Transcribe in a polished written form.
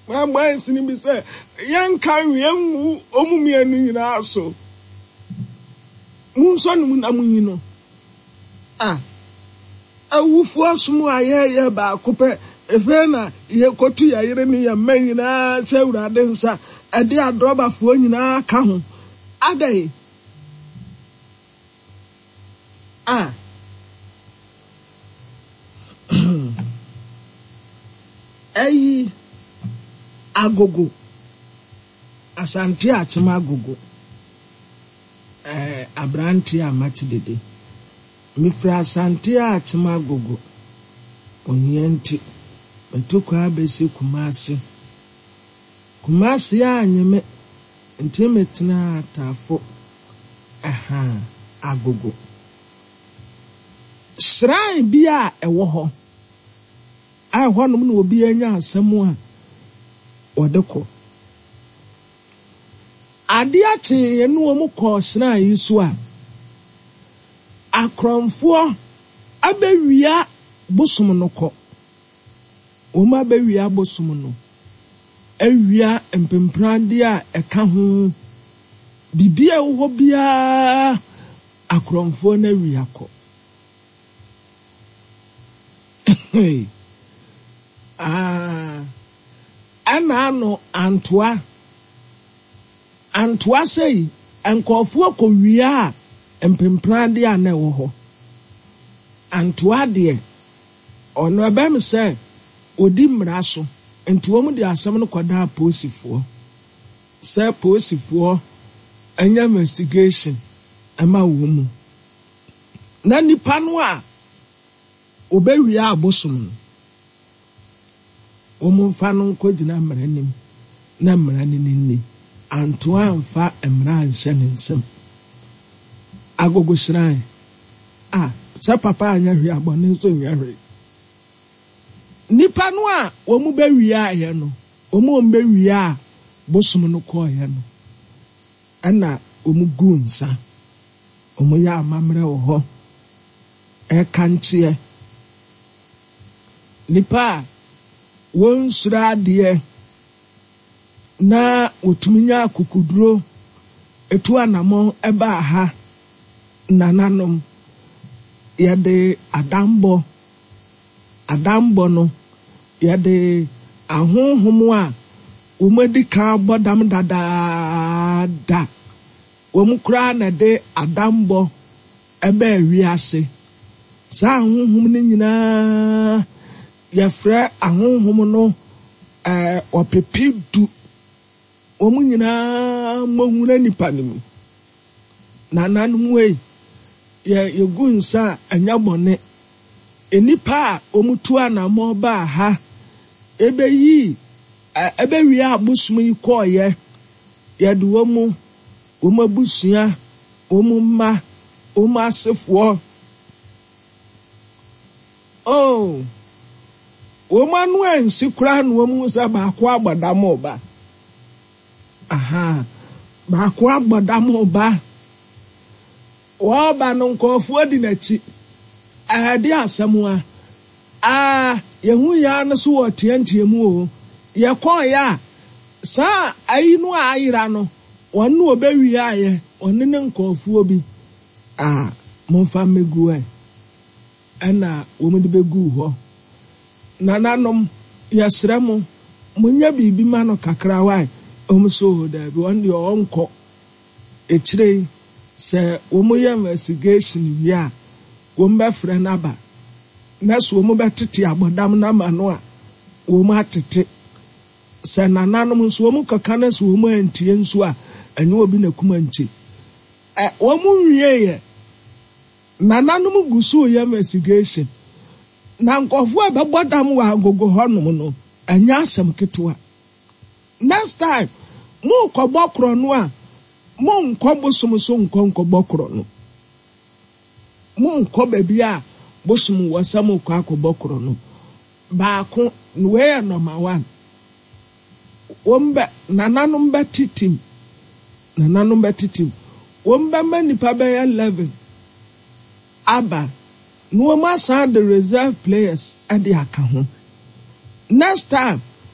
Mabɔ nsini bi sɛ yɛnka nwea ngu wɔn mmienu nyinaa so. Monsɔ ne mu na monyi no. A Awufoɔ som a yɛyɛ baako pɛ, ɛfei na yɛkɔtu yɛn yere ne yɛn mma nyinaa sɛ Awurade nsa, ɛde adrɔbafoɔ nyinaa ka ho. Adɛn? A Ayi Agogo, Asante Akyem Agogo, eh, aberanteɛ a mate dede. Mefiri Asante Akyem Agogo, ohia nti, matu kwan abɛsi Kumasi. Kumasi annye me, nti metenaa Tafo, ɛha, Agogo. Shrine bi a ɛwɔ hɔ a ɛhɔnom na obiara nya asɛm a wɔde kɔ. Adeɛ kyeeɛ no wɔn kɔɔ shrine yi so a, akorɔmfoɔ abɛwia bosom no kɔ. Wɔn abɛwia bosom no, awia mpempradeɛ a ɛka ho, biribi a ɛwɔ hɔ biara akorɔmfoɔ no awia kɔ. Ah, ɛna ano antoa. Antoa sɛi, nkurɔfoɔ kɔwiaa mpempradeɛ a na ɛwɔ hɔ. Antoa deɛ, ɔno ɛbɛm sɛ ɔdi mmara so, nti wɔn de asɛm no kɔdaa apolisifoɔ sɛ polisifoɔ nyɛ investigation ma wɔn mu. Na nipa no a ɔbɛwia abosom no, wɔmfa no nkɔgyina mmara anim na mmara no ne nni. Antoa amfa mmara anhyɛ ne nsam. Agogo shrine a, sɛ papa anyɛ hwee a, bɔne nso nyɛ hwee. Nnipa no a wɔbɛwiaeɛ no, wɔn a wɔbɛwiaa bosom no kɔeɛ no, ɛna wɔguu nsa. Wɔyɛ amammerɛ wɔ hɔ, ɛkankyeɛ. Nnipa a wɔnsuro adeɛ na wɔtumi nya akokoduro tu anammɔn baa ha, nananom, yɛde adammɔ, adammɔ no, yɛde ahonhom a wɔadi kan abɔ dam dadaada, wɔn koraa na ɛde adammɔ baa wiase. Saa ahonhom no nyinaa, yɛfrɛ ahonhom no ɔpepe du. Wɔn nyinaa mmɔhura nnipa no mu. Nananom ei, yɛ yɛgu nsa a, ɛnyɛ bɔne. Nnipa a wɔtu anammɔn baa ha bɛyii, bɛwiaa abosom yi kɔeɛ, yɛde wɔn, wɔn abusua, wɔn mma, wɔn asefoɔ, oh, wɔn ano ansi koraa na wɔhu sɛ baako abɔ dam reba. Ahaa, baako abɔ dam reba. Ɔreba no, nkurɔfoɔ di n'akyi. Ɛde asɛm a, aa, yɛhu yɛn ara no so wɔ teɛnteɛ mu o. Yɛkɔeɛ a, saa ayi no a ayera no, wɔn na wɔbɛwiaeɛ, wɔne ne nkurɔfoɔ bi. Aa, momfa mmɛgu ɛ. Ɛnna wɔde bɛguu hɔ. Nananom, yɛsrɛ mo, monyɛ biribi ma no kakra wae. Wɔn nso, oo daabi, ɔno deɛ ɔnkɔ. Akyire yi, sɛ wɔyɛ investigation wie a, wɔbɛfrɛ no aba. Na sɛ wɔbɛtete abɔdam no ama no a, wɔatete. Sɛ nananom nso, wɔkɔka na sɛ wɔantie nso a, ɛnyɛ obi na kum ankye. Ɛ, wɔnwieeɛ. Nananom gu so reyɛ investigation. Na nkurɔfoɔ a ɛbɛbɔ dam wɔ Agogo hɔnom no, ɛnyɛ asɛm ketewa. Next time, morekɔbɔ korɔno a, monkɔ bosom so nkɔ nkɔbɔ korɔno. Monkɔ baabi a bosom wɔ sɛ morekɔ akɔbɔ korɔno. Baako, wei yɛ number one. Wɔn bɛ, nananom bɛtetem, nananom bɛtetem. Wɔn bɛma nnipa bɛyɛ 11 aba na wɔn asan de reserve players de aka ho. Next time,